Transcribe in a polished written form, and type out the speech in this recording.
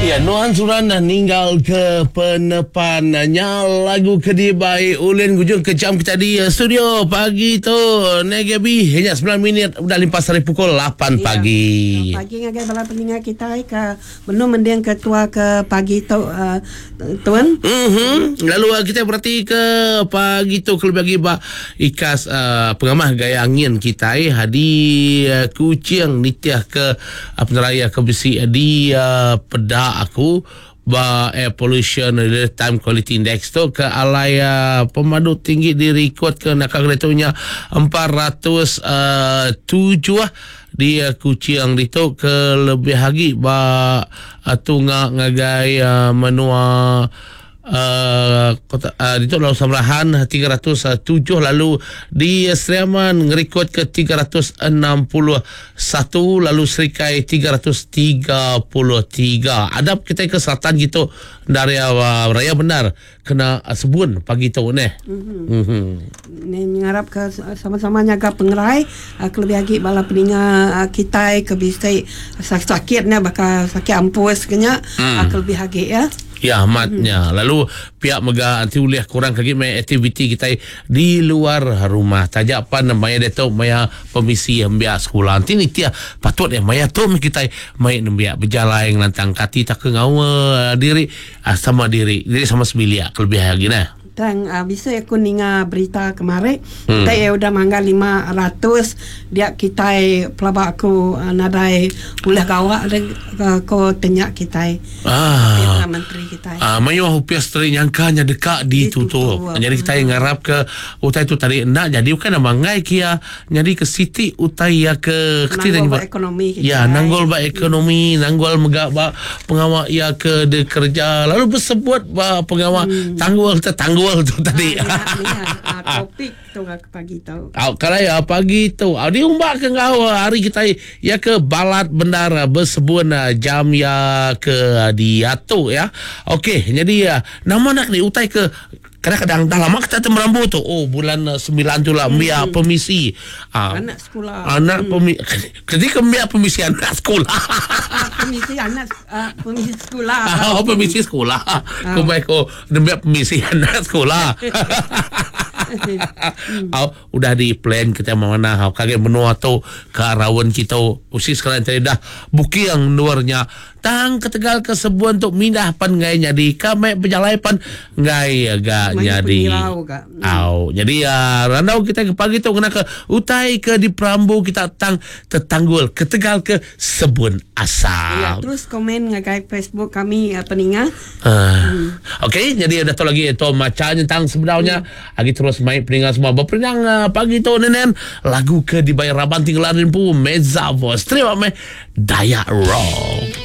Ya, nuan suran ninggal ke penepan nya lagu ke dibai ulin gujung ke jam kita di studio pagi tu Negabi hanya 9 minit udah limpas hari pukul 8 ya, pagi. Pagi ngagai bala peninga kita ke Benung mending ke tua ke pagi tu tuan. Mhm. Lalu kita berati ke pagi tu kelebih agi ba ikas uh, pengamah gaya angin kitai di uh, Kuching nitih ke uh, peneraya ke bisi di uh, peda aku ba air pollution real time quality index tu ke alai uh, pemadu tinggi direkod ke naka tu nya 407 Di Kuching ditu ke lebih agi ba tunga ngagai menua kota ditu lalu Samarahan 307 lalu di Sri Aman ngerikod ke 361 lalu Serikai 333. Adap kitai ke selatan gitu ndar iya raya bendar Kena sebun pagi tu neh. Mhm. Ni ngarap ke sama-sama nyaga pengerai kelebih agi bala peninga kitai ke bisi sakit nya baka sakit ampus ke nya kelebih agi ya. Ya amat nya. Lalu pia mega enti ulih kurang ke agi meh aktiviti kitai di luar rumah taja pan maya diatu maya pemisi nembiak sekula. Enti nitih patut iya maya tu meh kitai mai nembiak bejalai ngelantang ke ati tauka ngaul diri Sama diri, diri sama sebilik kelebih agi neh. Tang bisi aku ninga berita kemari kitai iya udah mangga 500 dia kitai pelaba aku nadai ulih gawa deh ko tenya kitai Perdana Menteri kitai. Mayuh opis tadi nyangka nya deka ditutup. Nyadi kitai ngarapka utai tu tadi enda nyadi bukai nama enggai ke iya Nyadi ke siti utai iya ke keti nanggul ba ekonomi kitai. Ya, nanggul ba ekonomi, nanggul mega ba pengawa iya ke dikereja lalu besebut ba pengawa hmm. tanggul tetanggul tu tadi. Ha, ya, ya. topik tu ke pagi tu. Au kalai ah, pagi tu. Au diumba ke enggau ah, hari kitai iya ke balat bendar ah, besebun jam iya ke diatu ya. Okey, jadi nama nak ni utai ke Kadang-kadang dah lama kita tu merambu tu. Oh bulan 9 tu lah hmm. permisi. Ha. Anak sekolah. Anak hmm. pemi ketika mbiak permisi anak sekolah. Ah, permisi anak uh, permisi sekolah. Oh permisi sekolah. Oh. Ku baik ko nembiak permisi anak sekolah. hmm. Oh, udah di plan kita mana hau kage menua tu ke raun kita usi sekarang tadi dah booking luarnya Tang ketegal ke sebun tu mindah pan enggai nyadi ka meh bejalai pan enggai ga nyadi. Au nyadi randau kitai ke pagi tu ngena ke utai ke diperambu kita tang tetanggul ketegal ke sebun asap. Ya terus komen ngagai Facebook kami peninga. Okey nyadi udah tu lagi tu macha nyentang sebedau nya agi terus mai peninga semua beperindang pagi tu nenen lagu ke dibai raban ti ngelar empu Mezza Voice. Terima meh Dayak Rock.